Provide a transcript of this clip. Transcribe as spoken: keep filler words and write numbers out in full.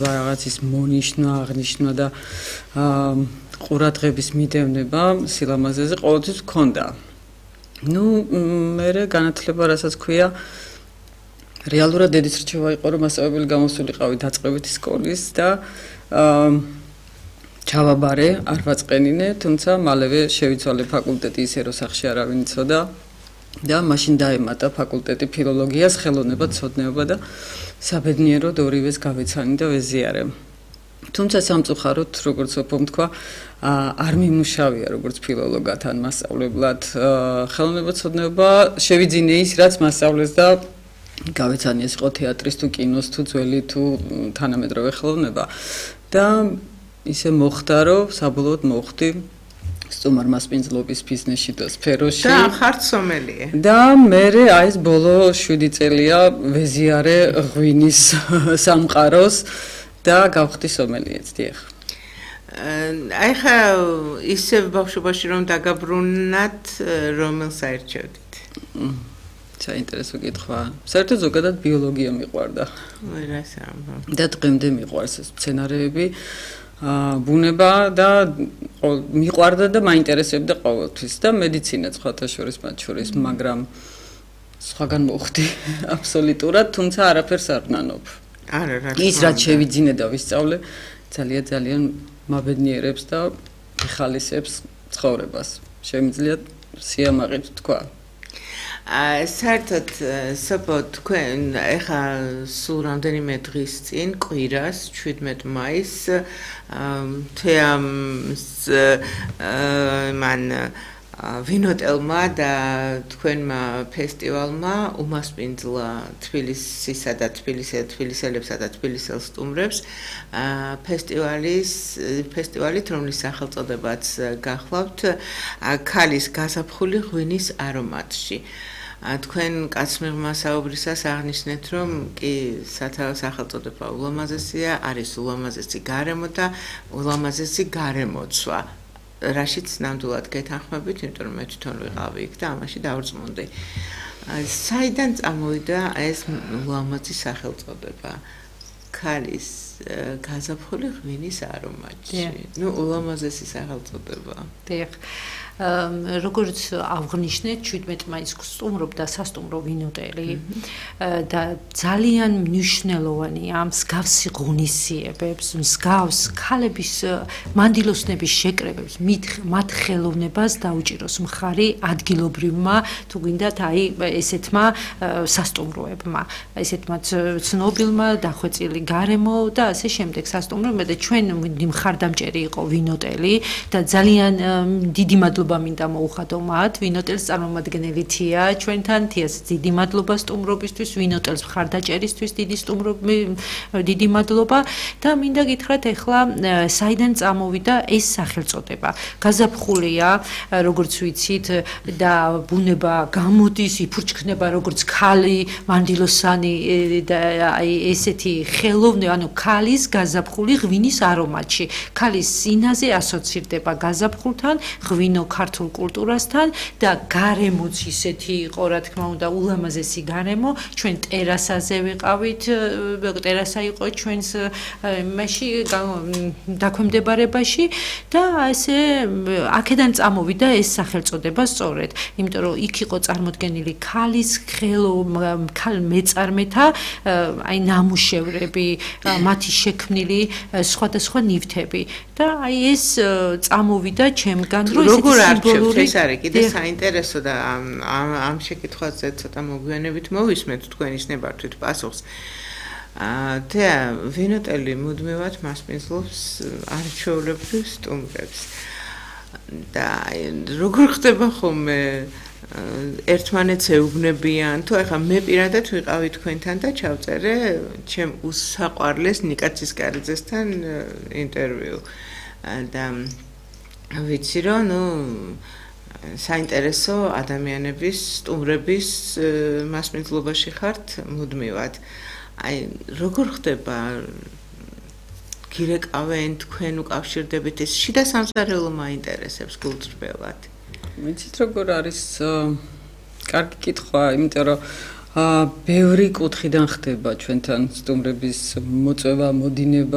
რაღაცის მონიშნა, აღნიშნა და ყურადღების მიდევნება სილამაზეზე ყოველთვის მქონდა. ნუ მე განათლება რასაც ქვია რეალურად დედის რჩევა იყო რომ მასწავლებელი გამოსულიყავი დაწყებითი სკოლის და ჩავაბარე არ ვაწყენინე, თუმცა მალევე შევიცვალე ფაკულტეტი ისე რომ სახში არავინ იცოდა და მაშინ დაემატა ფაკულტეტი ფილოლოგიას, ხელოვნებაცოდნეობა და საბედნიეროდ ორივეს გავეცანი და ვეზიარე. თუმცა სამწუხაროდ, როგორც ვთქვი, თქვა, არ მიმუშავია როგორც ფილოლოგად ან მასწავლებლად. ხელოვნებაცოდნეობა შევიძინე ის, რაც მასწავლეს და გავეცანი ეს იყო თეატრის თუ კინოს თუ ძველი თუ თანამედროვე ხელოვნება. და ისე მოხდა, რომ საბოლოოდ მოხდი სტუმარ მასპინძლობის ბიზნესში და სფეროში. და ხარ სომელიე. და მე აი ეს ბოლო შვიდი წელია ვეზიარე ღვინის სამყაროს და გავხდი სომელიეც, დიახ. აი ხა ისევ ბავშვობაში რომ დაგაბრუნდათ, რომელ საერთოდ? საინტერესო კითხვა. საერთოდ ზოგადად ბიოლოგია მიყვარდა. რას ამბობ? და დღემდე მიყვარს ეს სცენარეები. ბუნება და მიყვარდა და მაინტერესებდა ყოველთვის და მედიცინა სხვათა შორის მათ შორის, მაგრამ სხვაგან მოხდი აბსოლუტურად, თუმცა არაფერს არ ვნანობ. არა, რა. ის რაც შევიძინე და ვისწავლე, ძალიან ძალიან მაბედნიერებს და იხალისებს ცხოვრებას. შემიძლია სიამაყით თქვა. საერთოდ საპო თქვენ ეხა სულ რამდენიმე დღის წინ კვირას შვიდმეტ მაისს თეამს მან ვინოტელმა და თქვენმა ფესტივალმა უმასპინძლა თბილისისა და თბილისელებსა და თბილისელ სტუმრებს ფესტივალის ფესტივალით, რომლის სახელწოდებაც გახლავთ ქალის გაზაფხული ღვინის არომატში. თქვენ კაცმიღმა საუბრისას აღნიშნეთ, რომ კი სათავე სახელწოდება ულამაზესია, არის ულამაზესი გარემო და ულამაზესი გარემოცვა. რაშიც ნამდვილად გეთანხმებით, იმიტომ რომ მე თვითონ ვიყავი იქ და ამაში დავრწმუნდი. საიდან წამოვიდა ეს ულამაზესი სახელწოდება? ქალის გაზაფხული ღვინის არომატში. ნუ ულამაზესი სახელწოდება. დიახ. როგორც აღნიშნეთ, შვიდმეტ მაისს სტუმრობდა სასტუმრო ვინოტელი და ძალიან მნიშვნელოვანია მსგავსი ღონისძიებებს, მსგავს ქალების მანდილოსნების შეკრებებს, მათ ხელოვნებას დაუჭიროს მხარი ადგილობრივმა, თუ გინდათ, აი ესეთმა სასტუმროებმა, ესეთმა ცნობილმა დახვეწილი გარემო და ასე შემდეგ სასტუმროებმა და ჩვენ მხარდამჭერი იყო ვინოტელი და ძალიან დიდი მადლობა მინდა მოუხადო მათ, ვინოტელს წარმომადგენელი თია, ჩვენთან თიას დიდი მადლობა სტუმრობისთვის, ვინოტელს მხარდაჭერისთვის დიდი სტუმრობი, დიდი მადლობა და მინდა გითხრათ ახლა საიდან წამოვიდა ეს სახელწოდება. გაზაფხულია, როგორც ვიცით და ბუნება გამოდის, იფურჩქნება როგორც ქალი, მანდილოსანი და აი ესეთი ხელოვნე, ანუ ქალის გაზაფხული ღვინის არომატში. ქალის სინაზე ასოცირდება გაზაფხულთან, ღვინო ქართულ კულტურასთან და გარემოც ისეთი იყო, რა თქმა უნდა, ულამაზესი გარემო. ჩვენ ტერასაზე ვიყავით, ტერასა იყო ჩვენს იმაში დაქვემდებარებაში და ესე აქედან წამოვიდა ეს სახელწოდება სწორედ, იმიტომ რომ იქ იყო წარმოდგენილი ქალის ხელო ქალ მეწარმეთა აი ნამუშევრები, მათი შექმნილი სხვადასხვა ნივთები და აი ეს წამოვიდა ჩემგან, რომ როგორ არჩევთ, ეს არის კიდე საინტერესო და ამ შეკითხვაზე ცოტა მოგვიანებით მოვისმენთ თქვენის ნებართვით პასუხს. თეა ვინოტელი მუდმივად მასპინძლობს არჩეულებრივ სტუმრებს და როგორ ხდება ხოლმე ერთმანეთს ეუბნებიან, თუ ახლა მე პირადად ვიყავი თქვენთან და ჩავწერე ჩემ უსაყვარლეს ნიკა ცისკარიძესთან ინტერვიუ და ვიცი რომ ნუ საინტერესო ადამიანების სტუმრების მასპინძლობაში ხართ მუდმივად. აი როგორ ხდება გირეკავენ თქვენ უკავშირდებით ეს შიდა სამზარეულო მაინტერესებს გულწრფელად. ვიცით როგორ არის კარგი კითხვა, იმიტომ რომ აა ბევრი კუთხიდან ხდება ჩვენთან სტუმრების მოწვევა, მოდინება